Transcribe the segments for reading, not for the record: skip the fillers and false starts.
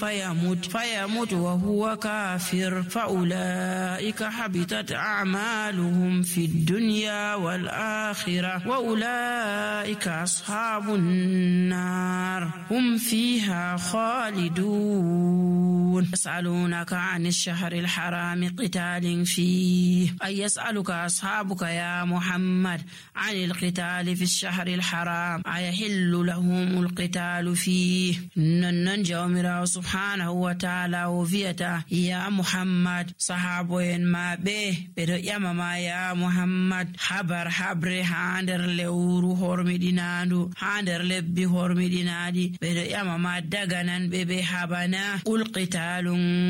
فيموت وهو كافر فأولئك حبطت أعمالهم في الدنيا والآخرة وأولئك أصحاب النار هم فيها خالدون. يسألونك عن الشهر الحرام قتال فيه، أي يسألك أصحابك يا محمد عن القتال في الشهر الحرام أيحل لهم القتال فيه. ننجو من سبحانه وتعالى وفيتا يا محمد صحابين ما به بدو يمما يا محمد حبر هاندر لورو هرمدينادو هاندر لبي هرمدينادي بدو يمما دغنان ببي حبنا قل قتال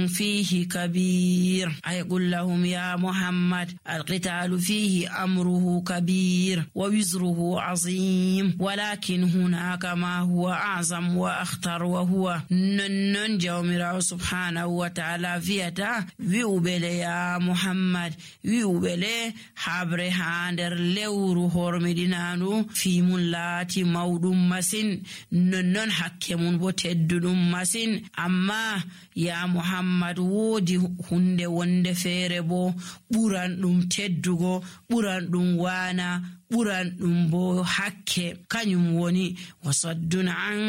فيه كبير، أي قل لهم يا محمد القتال فيه أمره كبير ووزره عظيم، ولكن هناك ما هو أعظم وأخطر وهو ننجو من سبحانه وتعالى فيتا ويوبلي يا محمد ويوبلي حبر هاندر لورو هرمدينانو في ملاتي مودم مسين ننن حكمون بتددم مسين. أما يا محمد wodi hunde wonde feere bo buran dum teddugo buran dum wana buran dum bo hakke kanyum woni wasaddun an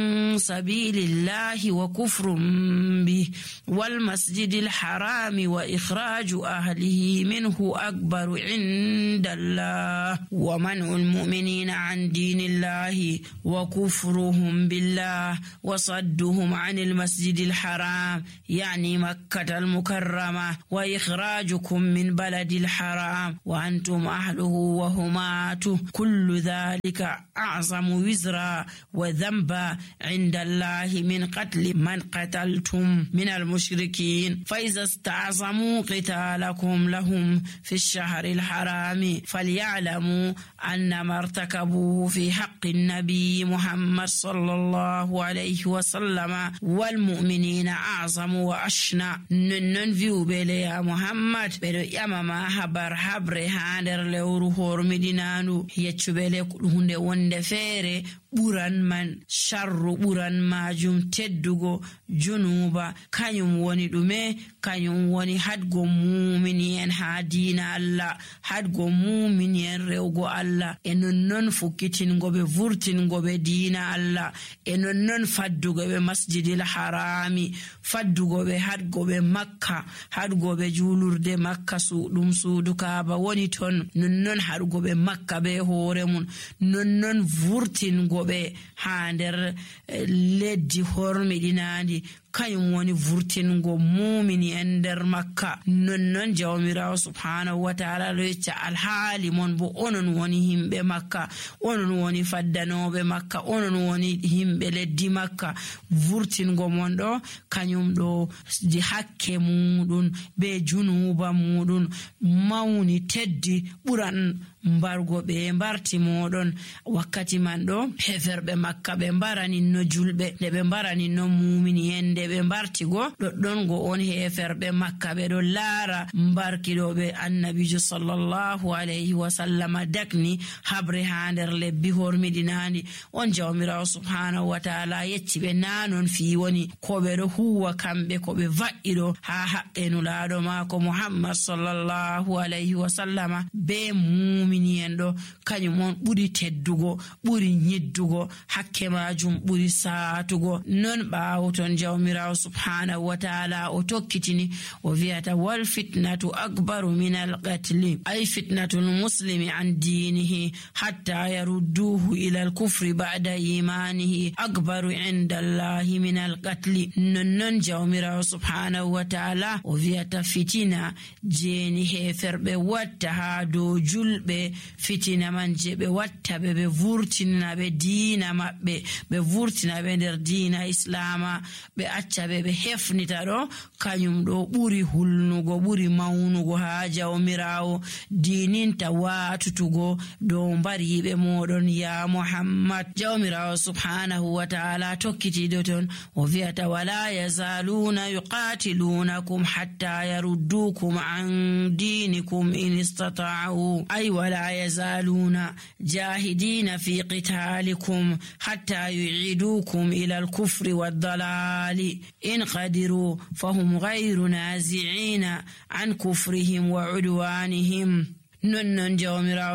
sabilillahi wa kufrun bi wal masjidil harami wa ikhraju ahlihi minhu akbaru indallah wa man'ul mu'minina an dinillahi wa kufruhum billah wa sadduhum anil masjidil haram يعني مكة المكرمة وإخراجكم من بلد الحرام وأنتم أهله وهماته كل ذلك أعظم وزرا وذنبا عند الله من قتل من قتلتم من المشركين. فإذا استعظموا قتالكم لهم في الشهر الحرام فليعلموا أن ما ارتكبوه في حق النبي محمد صلى الله عليه وسلم والمؤمنين أعظم وأشنع. نن فيو بيلي يا محمد بيدو يمما حبر هاندر لورو هرمدينانو يتشبيلي هنده وند فيري buran man sharru buran majum teddugo junuba kanyum woni dume kanyum woni hadgo mu'minin ha diina Allah hadgo mu'minin rewgo Allah e non fukkitingo be vurtingo be diina Allah e non faddugo be masjidil harami faddugo be hadgo be makka hadgo be julurde makka dum suudu kaaba woni ton non hadgo be makka be hoore mun non vurtingo be hander leddi hormidinandi kayum woni vurtingo mu'mini ender makka non jawmirawo subhanahu wa ta'ala lecca alhaali mon bo onon woni himbe makka onon woni faddanobe makka onon woni himbe leddi makka vurtingo mon do kanyum do di hakke mudun be junuba mudun mawni teddi buran mbargo be mbarti modon wakkati man do heferbe makka be mbarani no julbe de be mbarani no mu'mini ende be mbartigo doddon go on heferbe makka be do laara mbarkidobe annabijo sallallahu alayhi wa sallam dakni habre hander lebbi hormidinani on jawmirawo subhanahu wa ta'ala yecci be nanon fi woni ko be do huwa kambe ko be vaido ha haqqenu laado mako muhammad sallallahu alayhi wa sallam be miniyendo kanyum mon buri teddugo buri nyiddugo hakke majum buri saatugo non baawton jawmirawo subhanahu wa ta'ala o tokkitini o viata wal fitnatu akbaru min al qatl ay fitnatu al muslimi an dinihi hatta yarudduhu ila al kufri ba'da imanihi akbaru inda Allah min al qatl non jawmirawo subhanahu wa ta'ala o viata fitina jeni heferbe watta ha do julbe fitina manje be watta be vurtina be diina mabbe be vurtina be der diina islama be acca be hefnita do kanyum do buri hulnugo buri maunugo ha jawmirawo diininta watutugo do mbari be modon ya muhammad jawmirawo subhanahu wa ta'ala tokkiti do ton o viata wala yazaluna yuqatilunakum hatta yaruddukum an dinikum in istata'u ay wala yazaluna jahidina fi qitalikum hatta yu'idukum ila al-kufri wad-dalali إن قدروا فهم غير نازعين عن كفرهم وعدوانهم. نون جومرا